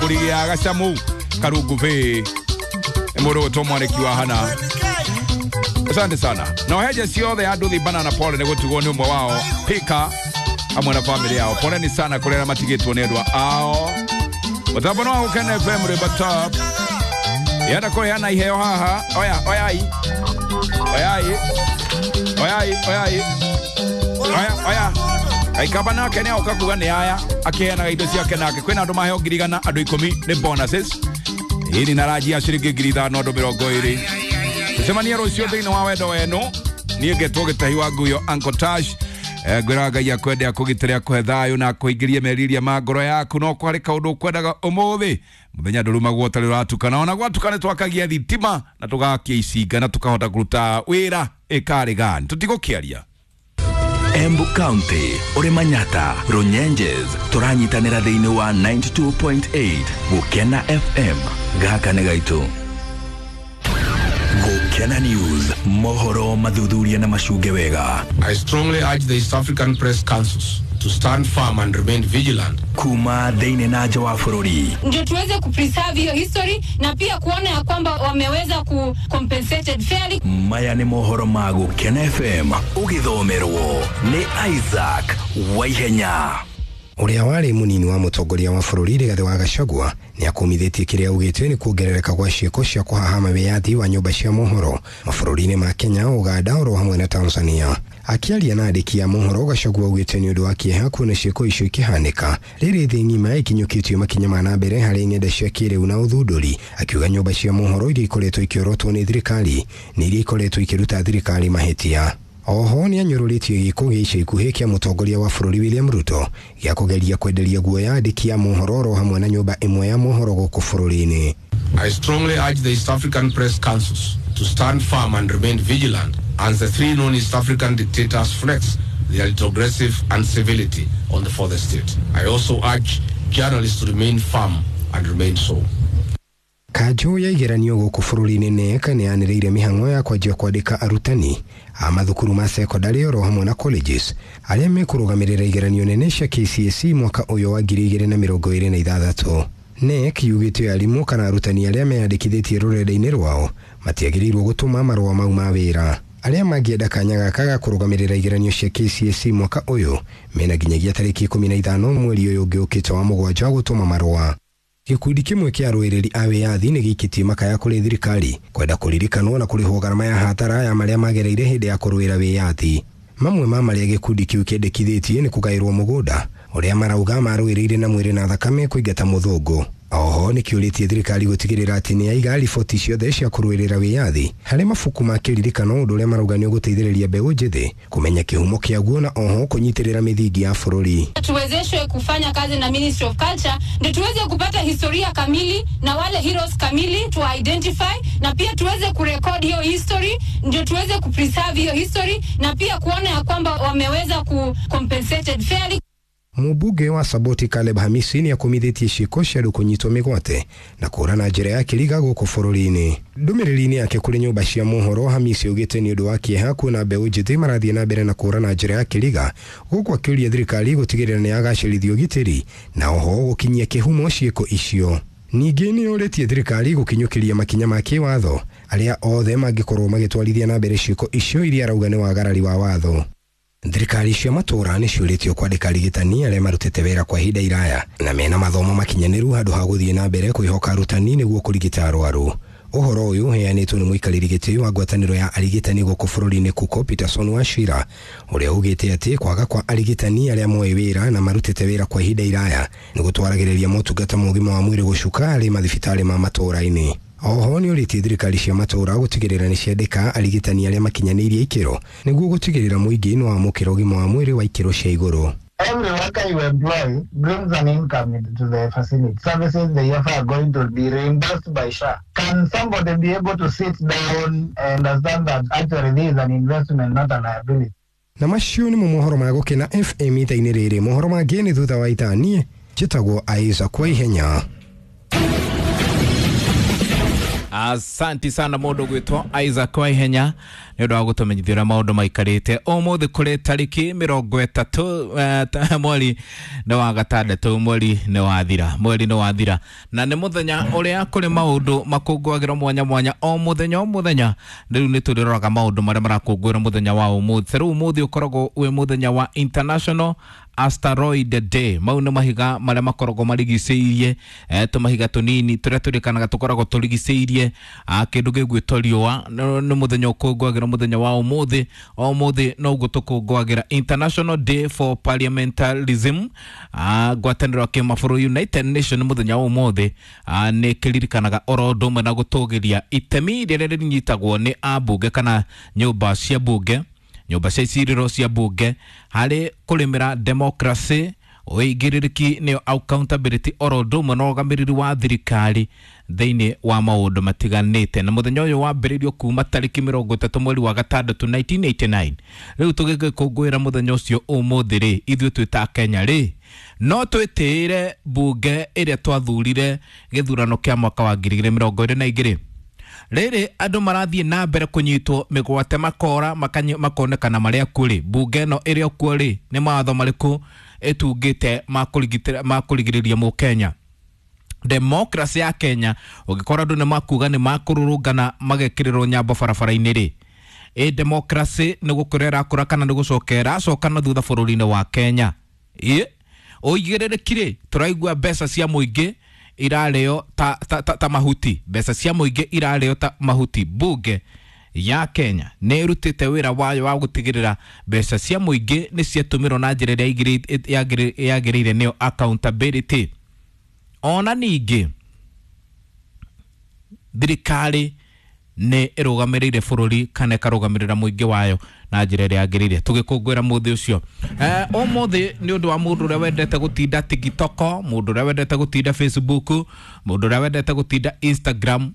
Mbũri ya Gacamu Karungu Bay, nĩ mũndũ gwĩtwo Mwanĩki wa Hana. Asante sana na oheje ciothe andũ thi banana, pole nĩ gũtigwo nĩ ũmwe wao Pika hamwe na family yao. Poleni sana kũrĩa arĩa matigĩtwo nĩ endwa ao. Mũtambo no wa Gũkena FM, rwĩmbo top yenda kũheana iheo haha. Oya, oyai, oyai, oyai, oyai, oya, oya. Aikamba nake nĩ aoka kuga nĩ aya akĩheanaga indo ciake, nake kwĩna andũ maheo 100,000, andũ 10 nĩ bonuses hili na raji ya ciringi 5,000, andũ 20. Tucemanie rũciũ thĩinĩ wa wendo wenu. Niĩ ngetwo Gĩtahi wa Nguyo, Uncle Tash. Ngwĩraga Ngai akwende, akũgitĩre, akũhe thayũ na akũingĩrie meriria ma ngoro yaku. No kwarĩ kaũndũ ũkwendaga ũmũthĩ mũthenya, ndũrumagwo ũtarĩ ũratukana. Ona gwatuka nĩ twakagia thitima na tũgakia icinga na tũkahota kũruta wĩra ĩkarĩ gani tũtigũkĩaria. Embu County, ũrĩ Manyata, Runyenjes, tũranyitanĩra thĩinĩ wa 92.8 Gũkena FM. Gaka nĩ gaitũ. Gũkena News, mohoro mathuthuria na macunge wega. I strongly urge the East African Press Councils to stand firm and remain vigilant. Kuma thĩinĩ na nja wa bũrũri. Ndio tuweze kupreserve hiyo history na pia kuona ya kwamba wameweza ku compensated fairly. Maya nĩ mohoro ma Gũkena FM, ũgĩthomerwo nĩ Isaac Waihenya. Ũrĩa warĩ mũnini wa mũtongoria wa bũrũri Rigathĩ wa Gachagua nĩ akumithĩtie kĩrĩa augĩte nĩ kuongerereka gwa ciĩko cia kũhahama wĩyathi wa nyũmba cia mohoro mabũrũri-inĩ ma Kenya, Uganda oro hamwe na Tanzania. Akĩaria na andĩki a mohoro, Gachagua augĩte nĩ ũndũ wa kĩeha kuona ciĩko icio ikĩhanĩka rĩrĩ thĩ ng'ima ĩkinyũkĩtio makinya ma na mbere harĩ ng'enda cia kĩrĩu na ũthundũri. Akiuga nyũmba cia mohoro iria ikoretwo ikĩorotwo nĩ thirikari nĩ iria ikoretwo ikĩruta thirikari mahĩtia. Oho nĩ anyũrũrĩtie gĩko gĩa ica ikuhĩ kĩa mũtongoria wa bũrũri William Ruto gĩa kũgeria kwenderia guoya andĩki a mohoro oro hamwe na nyũmba ĩmwe ya mohoro gũkũ bũrũri-inĩ. I strongly urge the East African Press Councils to stand firm and remain vigilant as the three known East African dictators flex their retrogressive incivility on the fourth estate. I also urge journalists to remain firm and remain so. Kanjũ ya igeranio gũkũ bũrũri-inĩ NEC nĩ yanĩrĩire mĩhang'o ya kwanjia kwandĩka arutani a mathukuru ma sekondarĩ oro hamwe na colleges arĩa mekũrũgamĩrĩra igeranio nene cia KCSE mwaka ũyũ wa 2026. NEC yugĩte arimũ kana arutani arĩa meyandĩkithĩtie rũrenda-inĩ rwao matiagĩrĩirwo gũtũma marũa mau ma wĩra. Arĩa mangĩenda kanya gaka ga kũrũgamĩrĩra igeranio cia KCSE mwaka ũyũ mena nginyagia tarĩki 15 mweri ũyũ ũngĩ ũkĩte wa mũgwanja gũtũma marũa. Gĩkundi kĩmwe kĩa arũĩrĩri a wĩyathi nĩ gĩikĩtie makaya kũrĩ thirikari kwenda kũririkanwo na kũrĩhwo garama ya hatara ya marĩa magereire hĩndĩ ya kũrũĩra wĩyathi. Mamwe ma marĩa gĩkundi kĩu kĩendekithĩtie nĩ kũgaĩrwo mũgũnda ũrĩa marauga marũĩrĩire na mwĩrĩ na thakame kũingata mũthũngũ. Oho nĩ kĩũrĩtie thirikari gũtigĩrĩra atĩ nĩ yaiga riboti ciothe cia kũrũĩrĩra wĩyathi harĩ mabuku ma kĩririkano, ũndũ ũrĩa marauga nĩ ũgũteithĩrĩria mbeũ njĩthĩ kũmenya kĩhumo kĩaguo na oho kũnyitĩrĩra mĩthingi ya bũrũri. Tuwezeshwe kufanya kazi na Ministry of Culture ndio tuweze kupata historia kamili na wale heroes kamili tu identify, na pia tuweze kurekodi hiyo history ndio tuweze kupreserve hiyo history na pia kuona ya kwamba wameweza ku compensated fairly. Mũmbunge wa Saboti Caleb Hamisi nĩ akumithĩtie ciĩko cia andũ kũnyitwo mĩgwate na kũũra na njĩra ya kĩriga gũkũ bũrũri-inĩ. Ndũmĩrĩri-inĩ yake kũrĩ nyũmba cia mohoro, Hamisi augĩte nĩ ũndũ wa kĩeha kuona mbeũ njĩthĩ marathiĩ na mbere na kũũra na njĩra ya kĩriga, gũkũ akĩũria thirikari gũtigĩrĩra nĩ yagacĩrithia ũgitĩri na oho gũkinyia kĩhumo ciĩko icio. Ningĩ nĩ orĩtie thirikari gũkinyũkĩria makinya ma kĩwatho arĩa othe mangĩkorwo magĩtwarithia na mbere ciĩko icio iria arauga nĩ wagarari wa watho. Thirikari cia matũũra nĩ ciũrĩtio kwandĩka arigitani arĩa marutĩte wĩra kwa ihinda iraya na mena mathomo makinyanĩru handũ ha gũthiĩ na mbere kwĩhoka arutani nĩguo kũrigita arwaru. Ũhoro ũyũ ũheanĩtwo nĩ mũikarĩri gĩtĩ wa ngwatanĩro ya arigitani gũkũ bũrũri-inĩ Kuko Peterson Wachira, ũrĩa ugĩte atĩ kwaga kwa arigitani arĩa moĩ wĩra na marutĩte wĩra kwa ihinda iraya nĩ gũtwaragĩrĩria motungata ma ũgima wa mwĩrĩ gũcuka harĩ mathibitarĩ ma matũũra-inĩ. Oho nĩ ũrĩtie thirikari cia matũũra gũtigĩrĩra nĩ ciandĩka arigitani arĩa makinyanĩirie ikĩro nĩguo gũtigĩrĩra mũingĩ nĩ wamũkĩra ũgima wa mwĩrĩ wa ikĩro cia igũrũ. Every worker you employ brings an income into the facility. Services they offer are going to be reimbursed by SHA. Can somebody be able to sit down and understand that actually this is an investment, not a liability? Na macio nĩmo mohoro ma Gũkena FM itha-inĩ rĩrĩ. Mohoro mangĩ nĩ thutha wa ithaa. Niĩ njĩtagwo Isaac Waihenya. Asanti sana mũndũ gwĩtwo Isaac Waihenya nĩ ũndũ wa gũtũmenyithia ũrĩa maũndũ maikarĩte ũmũthĩ kũrĩ tarĩki 30 mweri nĩ wa gatandatũ, mweri nĩ wathira, mweri nĩ wathira, na nĩ mũthenya ũrĩa kũrĩ maũndũ makũngũagĩrwo mwanya mwanya o mũthenya o mũthenya. Rĩu nĩ tũrĩroraga maũndũ marĩa marakũngũĩrwo mũthenya wa ũmũthĩ. Rĩu ũmũthĩ ũkoragwo wĩ mũthenya wa International Asteroid Day. Mau nĩ mahiga marĩa makoragwo marigicĩirie tũmahiga tũnini tũrĩa tũrĩkanaga tũkoragwo tũrigicĩirie kĩndũ gĩgwĩtwo riũa. Nĩ mũthenya ũkũngũagĩrwo mũthenya wa ũmũthĩ. O ũmũthĩ noguo tũkũngũagĩra International Day for Parliamentarism. Ngwatanĩro ya kĩmabũrũri United Nation mũthenya wa ũmũthĩ nĩ kĩririkanaga oro ũndũ ũmwe na gũtũgĩria itemi rĩrĩa rĩnyitagwo nĩ ambunge kana nyũmba cia bunge, nyũmba cia icirĩro cia bunge harĩ kũrĩmĩra democracy, ũigĩrĩrĩki nĩyo accountability oro ũndũ ũmwe na ũrũgamĩrĩri wa thirikari thĩinĩ wa maũndũ matiganĩte. Na mũthenya ũyũ wambĩrĩirio kuma tarĩki 30 mweri wa gatandatũ 1989. Rĩu tũgĩgĩkũngũĩra mũthenya ũcio ũmũthĩ rĩ, ithuĩ twĩ ta Kenya rĩ, no twĩtĩĩre bunge ĩrĩa twathurire gĩthurano kĩa mwaka wa 2022. Rĩrĩ andũ marathiĩ na mbere kũnyitwo mĩgwate makora makonekana marĩa kuo rĩ, bunge ĩno ĩrĩ kuo rĩ, nĩ mawatho marĩkũ ĩtungĩte ma kũrigĩrĩria mũkenya? Democracy ya Kenya ũngĩkorwo andũ nĩ makuga nĩ makũrũrũngana magekĩrĩrwo nyambo barabara-inĩ rĩ, ĩ democracy nĩ gũkũra ĩrakũra kana nĩ gũcoka ĩracoka na thutha bũrũri-inĩ wa Kenya? Ĩ ũigĩrĩrĩki rĩ, tũraigua mbeca cia mũingĩ irarĩo ta mahuti, mbeca cia mũingĩ irarĩo ta mahuti. Bunge ya Kenya nĩ ĩrutĩte wĩra wayo wa gũtigĩrĩra mbeca cia mũingĩ nĩ ciatũmĩrwo na njĩra ĩrĩa yagĩrĩire, nĩyo accountability. Ona ningĩ thirikari nĩ ĩrũgamĩrĩire bũrũri kana ĩkarũgamĩrĩra mũingĩ wayo na njĩra ĩrĩa yagĩrĩire. Tũgĩkũngũĩra mũthĩ ũcio ũmũthĩ nĩ ũndũ wa mũndũ ũrĩa wendete gũtinda TikTok, mũndũ ũrĩa wendete gũtinda Facebook, mũndũ ũrĩa wendete gũtinda Instagram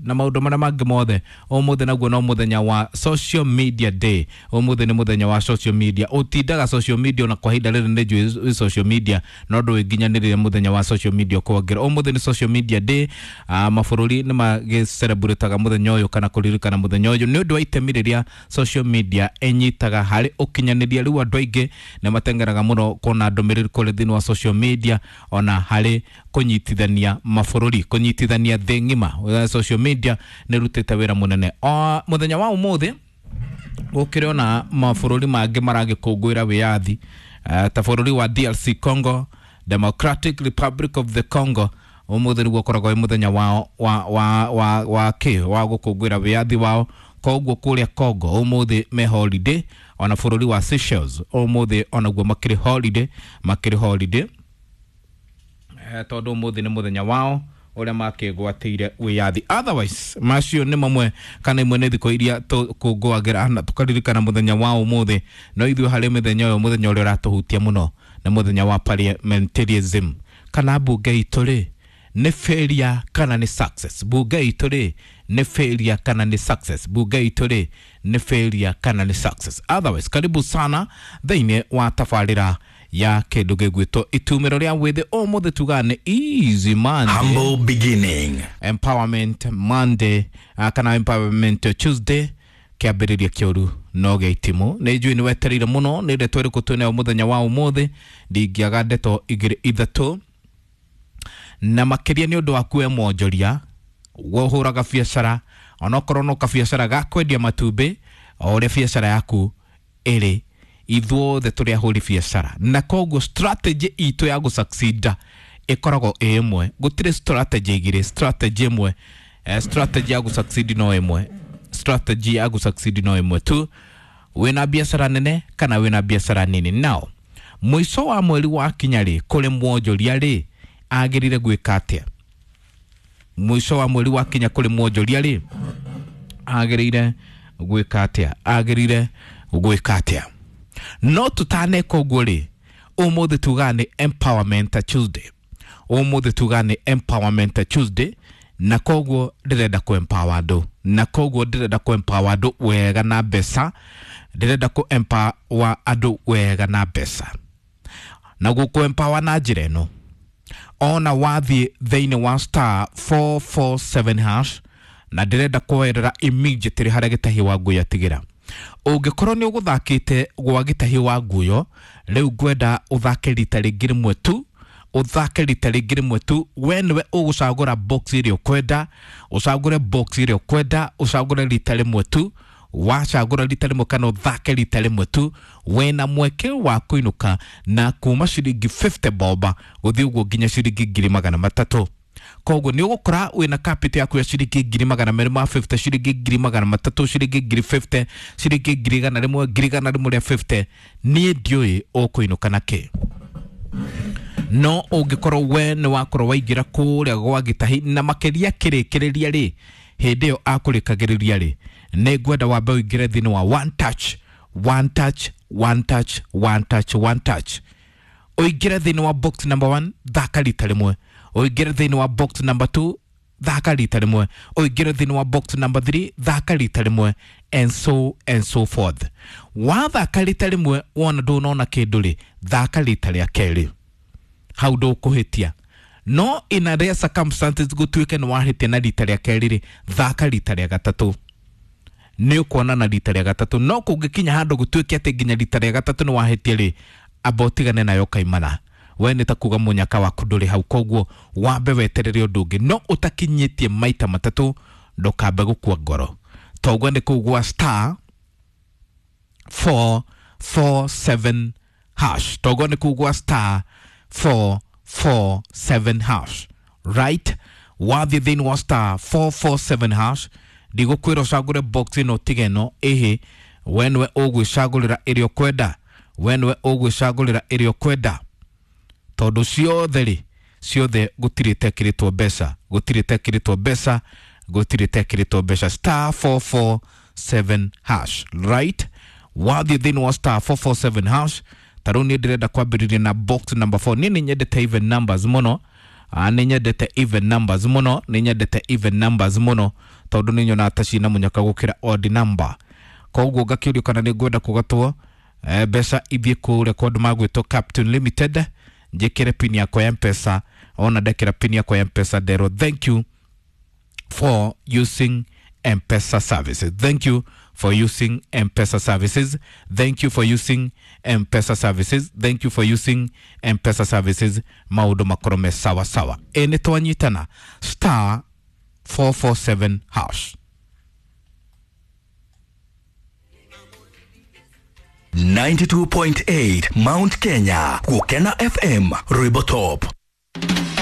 na maũndũ marĩa mangĩ mothe. Ũmũthĩ naguo no mũthenya wa social media day. Ũmũthĩ nĩ mũthenya wa social media. Ũtindaga social media ona kwa ihinda rĩrĩ nĩ njũĩ social media no ndũĩnginyanĩrĩre mũthenya wa social media ũkongera. Ũmũthĩ nĩ social media day. Mabũrũri nĩ magĩcelebrataga mũthenya ũyũ kana kũririkana mũthenya ũyũ nĩ ũndũ wa itemi rĩrĩa social media ĩnyitaga harĩ ũkinyanĩria. Rĩu andũ aingĩ nĩ mateng'eraga mũno kuona ndũmĩrĩri kũrĩ thĩinĩ wa social media ona harĩ kũnyitithania mabũrũri, kũnyitithania thĩ ng'ima. Social media nĩ ĩrutĩte wĩra mũnene. O mũthenya wa ũmũthĩ gũkĩrĩ ona mabũrũri mangĩ maragĩkũngũĩra wĩyathi ta bũrũri wa DRC Congo, Democratic Republic of the Congo. Ũmũthĩ nĩguo ũkoragwo wĩ mũthenya wao wa gũkũngũĩra wĩyathi wao. Koguo kũrĩa Congo ũmũthĩ me holiday. Ona bũrũri wa Seychelles ũmũthĩ onaguo makĩrĩ holiday, makĩrĩ holiday tondũ ũmũthĩ nĩ mũthenya wao ũrĩa makĩgwatĩire wĩyathi. Otherwise macio nĩ mamwe kana imwe nĩ thikũ iria tũkũngũagĩra na tũkaririkana mũthenya wa ũmũthĩ. No ithuĩ harĩ mĩthenya ũyũ, mũthenya ũrĩa ũratũhutia mũno nĩ mũthenya wa parliamentarism. Kana bunge itũ rĩ nĩ failure kana nĩ success? Bunge itũ rĩ nĩ failure kana nĩ success? Bunge itũ rĩ nĩ failure kana nĩ success? Otherwise karibu sana thĩinĩ wa tabarĩra ya kĩndũ gĩgwĩtwo itumĩro rĩa wĩthĩ. Ũmũthĩ tugaga nĩ easy Monday, Humble beginning, empowerment Monday kana empowerment Tuesday. Kĩambĩrĩria kĩũru no gĩa itimũ. Nĩ njũĩ nĩ wetereire mũno nĩ ndeto ĩrĩkũ twĩnayo mũthenya wa ũmũthĩ. Ndingĩaga ndeto igĩrĩ ithatũ na makĩria nĩ ũndũ waku we mwonjoria ũhũraga biacara, onokorwo no kabiacara ga kwendia matumbĩ, o ũrĩa biacara yaku ĩrĩ, ithuothe tũrĩ ahũri biacara, na koguo strategy itũ ya gũsucceed ĩkoragwo ĩ ĩmwe. Gũtirĩ strategy igĩrĩ, strategy ĩmwe. Strategy ya gũsucceed no ĩmwe, strategy ya gũsucceed no ĩmwe tu, wĩna biacara nene kana wĩna biacara nini. Now mũico wa mweri wa kinya rĩ, kũrĩ mwonjoria rĩ agĩrĩire gwĩka atĩa? Mũico wa mweri wa kinya kũrĩ mwonjoria rĩ agĩrĩire gwĩka atĩa? Agĩrĩire gwĩka atĩa? No tũtaneka ũguo rĩ, ũmũthĩ tugaga nĩ empowerment Tuesday. Ũmũthĩ tugaga nĩ empowerment Tuesday, na koguo ndĩrenda kũ empower andũ, na koguo ndĩrenda kũ empower andũ wega na mbeca, ndĩrenda kũ empower andũ wega na mbeca, na gũkũ empower na njĩra ĩno. Ona wathiĩ thĩinĩ wa star 447 hash Na ndĩrenda kwoerera immediately harĩa Gĩtahi wa Nguyo atigĩra. Ũngĩkorwo nĩ ũgũthakĩte gwa Gĩtahi wa Nguyo, rĩu ngwenda ũthake rita rĩngĩ rĩmwe tu, ũthake rita rĩngĩ rĩmwe tu. We nĩwe ũgũcagũra box ĩrĩa ũkwenda, ũcagũre box ĩrĩa ũkwenda, ũcagũre rita rĩmwe tu. Wacagũra rita rĩmwe kana ũthake rita rĩmwe tu, wĩna mweke wa kũinũka na kuma ciringi 50 boba gũthiĩ ũguo nginya ciringi 300,000. Koguo nĩ ũgũkora wĩna capital yaku ya ciringi 250,000, ciringi 300,000, ciringi 50,000, ciringi 100,000, 150,000. Niĩ ndiũĩ ũkũinũka na kĩ, no ũngĩkorwo we nĩ wakorwo waingĩra kũrĩa gwa Gĩtahi na makĩria kĩrĩkĩrĩria rĩ, hĩndĩ ĩyo akũrĩkagĩrĩria rĩ, nĩ ngwenda wambe ũingĩre thĩinĩ wa one touch, one touch, one touch, one touch, one touch. Ũingĩre thĩinĩ wa box number 1, thaka rita rĩmwe. Ũingĩre thĩinĩ wa box number 2, thaka rita rĩmwe. Ũingĩre thĩinĩ wa box number 3, thaka rita rĩmwe, and so and so forth. Wathaka rita rĩmwe wona ndũnona kĩndũ rĩ, thaka rita rĩa kerĩ, hau ndũkũhĩtia. No in a rare circumstances gũtuĩke nĩ wahĩtia na rita rĩa kerĩ rĩ, thaka rita rĩa gatatũ, nĩ ũkuona na rita rĩa gatatũ. No kũngĩkinya handũ gũtuĩke atĩ nginya rita rĩa gatatũ nĩ wahĩtia rĩ, amba ũtigane nayo kaimana, we nĩ ta kuga mũnyaka waku ndũrĩ hau. Koguo wambe weterere ũndũ ũngĩ, no ũtakinyĩtie maita matatũ ndũkambe gũkua ngoro. Toguo nĩ kũu gwa star 447 hash, toguo nĩ kũu gwa star 447 hash, right? Wathiĩ thĩinĩ wa star 447 hash, ndigũkwĩra ũcagũre box ĩno tiga ĩno, ĩhĩ, we nĩwe ũgwĩcagũrĩra ĩrĩa ũkwenda, we nĩwe ũgwĩcagũrĩra ĩrĩa ũkwenda, tondũ ciothe rĩ, ciothe gũtirĩ tekĩrĩtwo mbeca, gũtirĩ tekĩrĩtwo mbeca, gũtirĩ tekĩrĩtwo mbeca. Star 447 hash, right? Wathiĩ thĩinĩ wa star 447 hash, ta rĩu niĩ ndĩrenda kwambĩrĩria na box number 4. Niĩ nĩ nyendete even numbers mũno. Nĩ nyendete even numbers mũno, nĩ nyendete even numbers mũno, tondũ nĩ nyonaga ta cina mũnyaka gũkĩra odd number. Koguo ngakĩũrio kana nĩ ngwenda kũgatwo mbeca ithiĩ kũrĩa kwa andũ magwĩtwo Captain Limited, njĩkĩre pin yakwa ya Mpesa. Ona ndekĩra pin yakwa ya Mpesa, nderwo thank you for using M-Pesa services. Thank you for using M-Pesa services. Thank you for using M-Pesa services. Thank you for using M-Pesa services. Maũndũ makorwo me sawa sawa. Ĩ nĩ twanyitana star 447 hash. 92.8 Mount Kenya, Gukena FM, Rwimbo Top.